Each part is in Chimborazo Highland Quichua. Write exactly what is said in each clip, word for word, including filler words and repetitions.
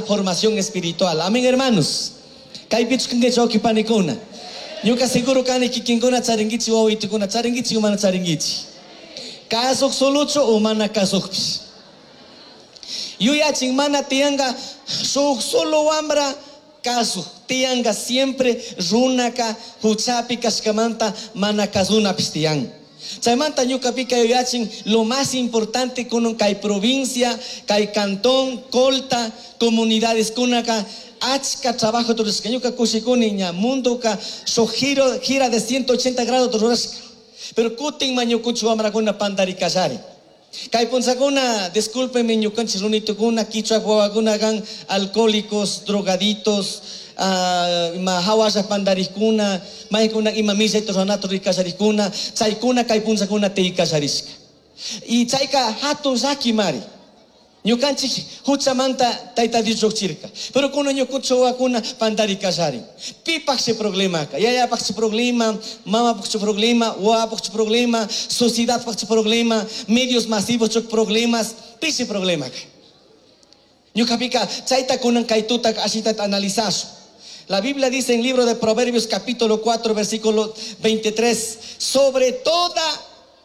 formación espiritual. Amén, hermanos. Kaypichu kankichik wawqi panikuna. Ñuka seguro kani kikinkuna charinkichik wawitukuna charinkichik mana charinkichik. Kasuq solochu o mana kasuqpis. Yuyachin mana tiyanka shuk solo wambra kasuq tiyanka siempre runaka huchapi kashkamanta mana kasunapis tiyan. Chaymanta ñukapika yuyachin lo más importante kunan kay provincia, kay cantón, Colta, comunidades kunaka achka trabajo rurashka. Ñuka kushikuni ña mundoka shuk giro, gira de ciento ochenta grados rurashka. Pero kutin ma ñukunchik wamrakuna pandarikallari. Kay punzakuna, discúlpenme ñukanchik runitukuna, kichwa wawakuna kan alcohólicos, drogaditos, ah, ima hawalla pandarikuna, maykuna ima millayta ruranata rikasharikuna, chaykuna kay punzakuna tiykallarishka. Y chayka hatun llaki mari. Ñukanchik huchamanta Tayta Dios lluqchirka. Pero kuna ñukunchik wawakuna pandarikallarin. Pipaqshi problemaka? Yayapaqshi problema, mamapaqshi problema, wawapaqshi problema, sociedadpaqshi problema, medios masivos chuk problemas, pishi problemaka. Ñukapika chayta kunan kay tuta ashita analizasun. La Biblia dice en el libro de Proverbios capítulo cuatro versículo veintitrés, sobre toda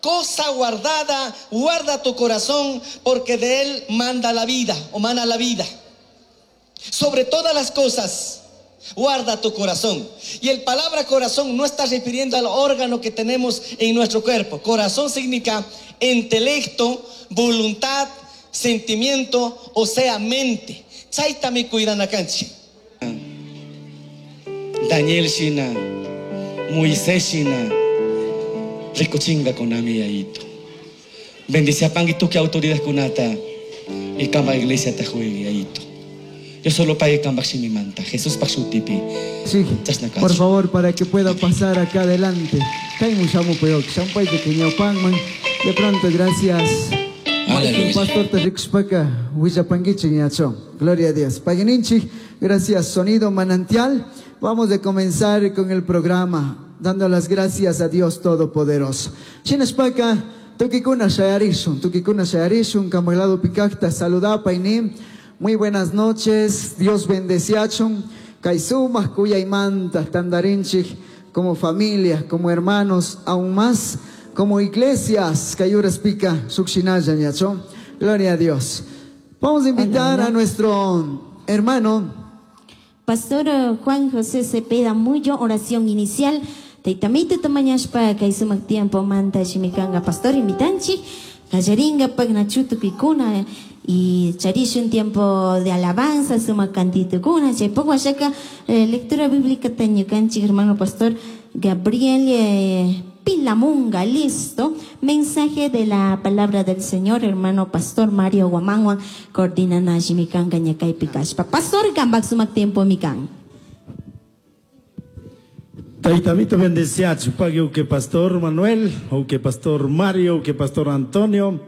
cosa guardada, guarda tu corazón, porque de él manda la vida, o mana la vida. Sobre todas las cosas, guarda tu corazón. Y el palabra corazón no está refiriendo al órgano que tenemos en nuestro cuerpo. Corazón significa intelecto, voluntad, sentimiento, o sea, mente. Chaytami cuidana kanchik. Daniel shina, Moisés shina, rikuchinga kunami yayito. Bendice a pangi tuki autoridad kunata y kamba iglesia ta juegue yayito. Yo solo pague kamba shimimanta. Jesús pa shutipi. Sí, Chasna kachu. por favor, para que pueda pasar acá adelante. Kaimu shamu peyok, shampay de Keñaupanman. De pronto, gracias. Aleluya. Pastor Terrixpaca, Huillapanguichi, Ñacho. Gloria a Dios. Paguininchi, gracias. Sonido Manantial. Vamos a comenzar con el programa, dando las gracias a Dios Todopoderoso. Chinaspaca, tukikuna shayarishun, tukikuna shayarishun, kamaglado pikakta, saludapa inim. Muy buenas noches, Dios bendeciachun. Kaisumas, kuyaymanta, tandarinchik, como familia, como hermanos, aún más, como iglesias, kayuras pica, sukshinaya, ñacho. Gloria a Dios. Vamos a invitar Hola, hola. a nuestro hermano Pastor, eh, Juan José Cepeda Muyo, oración inicial. Taitamito tamañashpa, kaysumak tiempo manta shimikanga pastor invitanchi, kallaringa pagnachutu pikuna y charish un tiempo de alabanza, suma cantito kuna, chaypaq washaka, eh, lectura bíblica tañukanchik hermano pastor Gabriel, eh, Pilamunga, listo. Mensaje de la palabra del Señor, hermano pastor Mario Guamanguan, coordina Nashimikan Gañakay Pikashpa. Pastor Gambak sumak tiempo mikan. Taitamito bendeciachu, pague que pastor Manuel, o que pastor Mario, o que pastor Antonio,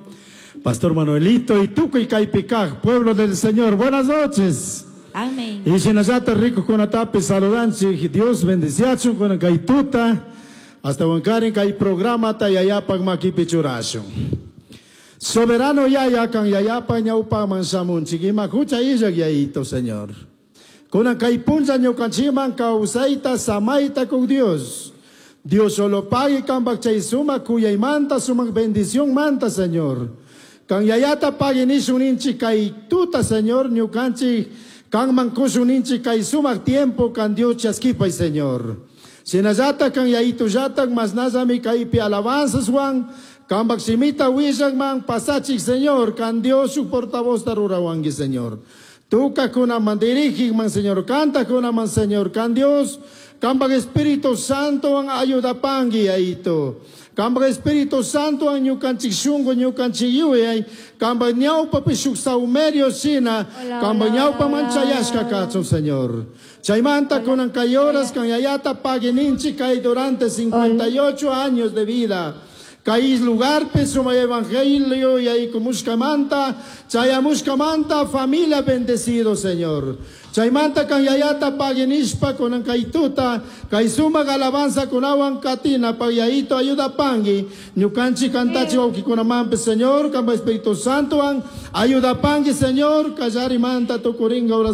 pastor Manuelito y Tuco y Caipicaj, pueblo del Señor. Buenas noches. Amén. Y Shinazata rico con atape saludanchi, Dios bendeciachu con caituta. Hasta Huancarin kay programa tayayapag makipichurashun. Soberano yaya kan yayapa ñaupa mansamun chikima hucha illak yayito, Señor. Kunan kay puncha ñukanchiman kawsayta samayta con Dios. Dios solo pague kan bakchay suma kuyaymanta sumak bendición manta, Señor. Kan yayata pague nishun inchi kay tuta, Señor, ñukanchi kan mankushun inchi kay sumak tiempo kan Dios chaskipay, Señor. Sinayata kan yaitu yatan masnazami kaipi alabanzas Juan, kan baksimita wishan man pasachik Señor, kan Dios su portavoz tarurawangi Señor. Tuka kuna man dirigik man Señor, canta kuna man Señor, kan Dios, kan bak Espíritu Santo an ayuda pangi yaito. Kan bak Espíritu Santo an ñukanchik shungo ñukanchik yuyay, kan bak ñawpa pishuk saumerio sina, Hola, kan bak hola, ñawpa hola, manchayashka hola. kachun Señor. Chaymanta Hola, kunan kayoras hola. kan yayata paguininchi kay durante cincuenta y ocho años de vida. Kay lugar suma evangelio y ahí kumushkamanta, chayamushkamanta, familia bendecido, Señor. Chaymanta kan yayata paguinishpa kunan kaytuta, kay suma alabanza kunawan katina, pagyaito ayuda pangi, ñukanchi kantachi waukikunamampe, Señor, kamba Espíritu Santo an, ayuda pangi, Señor, kallari manta tukuringa horas